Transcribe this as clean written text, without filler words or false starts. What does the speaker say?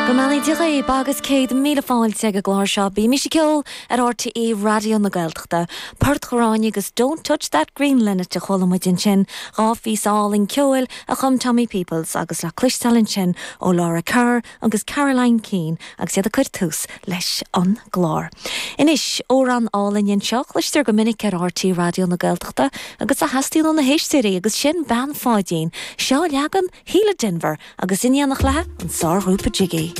Go mbeannaí Dia dhaoibh agus 100,000 fáilte ag an gclár seo Bímís ag Ceol ar RTÉ Raidió na Gaeltachta. Port Ghráinne agus Don't Touch That Green Linnet a chuala muid ansin, 2 phíosa álainn ceoil a chum Tommy Peoples agus le cloisteáil ansin ó Laura Kerr agus Caroline Keane agus iad ag cur tús leis an gclár. Anois, amhrán álainn anseo a chloistear go minic ar RTÉ Raidió na Gaeltachta agus a theastaíonn ó na héisteoirí agus sin Bean Pháidín. Seo leagan Shíle Denvir agus in éineacht léi an sárghrúpa Jiggy.